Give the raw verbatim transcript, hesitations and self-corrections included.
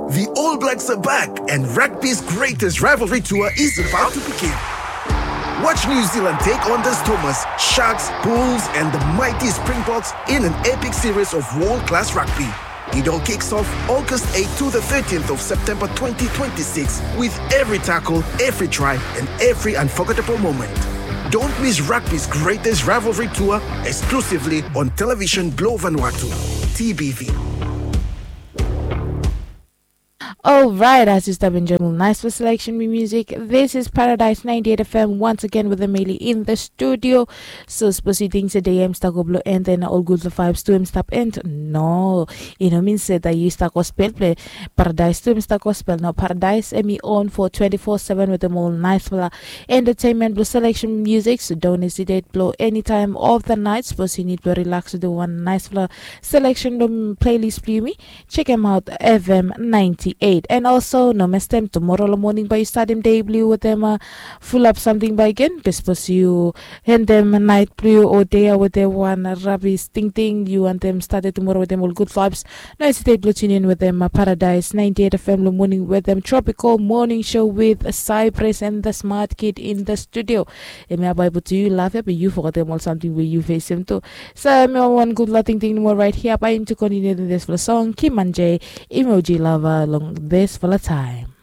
The All Blacks are back, and rugby's greatest rivalry tour is about to begin. Watch New Zealand take on the Stormers, Sharks, Bulls, and the mighty Springboks in an epic series of world class rugby. It all kicks off August eighth to the thirteenth of September twenty twenty-six, with every tackle, every try, and every unforgettable moment. Don't miss rugby's greatest rivalry tour, exclusively on Television Blue Vanuatu, T B V. Alright, as you stop enjoying nice for selection me music. This is Paradise ninety-eight F M once again with Emily in the studio. So suppose you think today I'm stuck blow and then all good for vibes to him stop and no. You know mean said that you stuck gospel play Paradise to him stuck gospel. No Paradise and me on for twenty-four seven with them all nice for entertainment blow selection music. So don't hesitate blow anytime of the night. Suppose you need to relax with the one nice for selection playlist blow me. Check him out, F M ninety-eight. And also, no mess them tomorrow morning by you start him day blue with them uh, full up something by again. Bespos you hand them night blue or day with them one rubbish thing thing. You and them started tomorrow with them all good vibes. No hesitate blue tune in with them uh, Paradise ninety-eight F M blue morning with them tropical morning show with Cypress and the smart kid in the studio. Emi aba ibu tu yu laugh ya be yu forgot dem ol samting we yu face him tu. So emi wan gud la tingting mo right here by him to continue the this for song Kimanje emoji lava long this for time.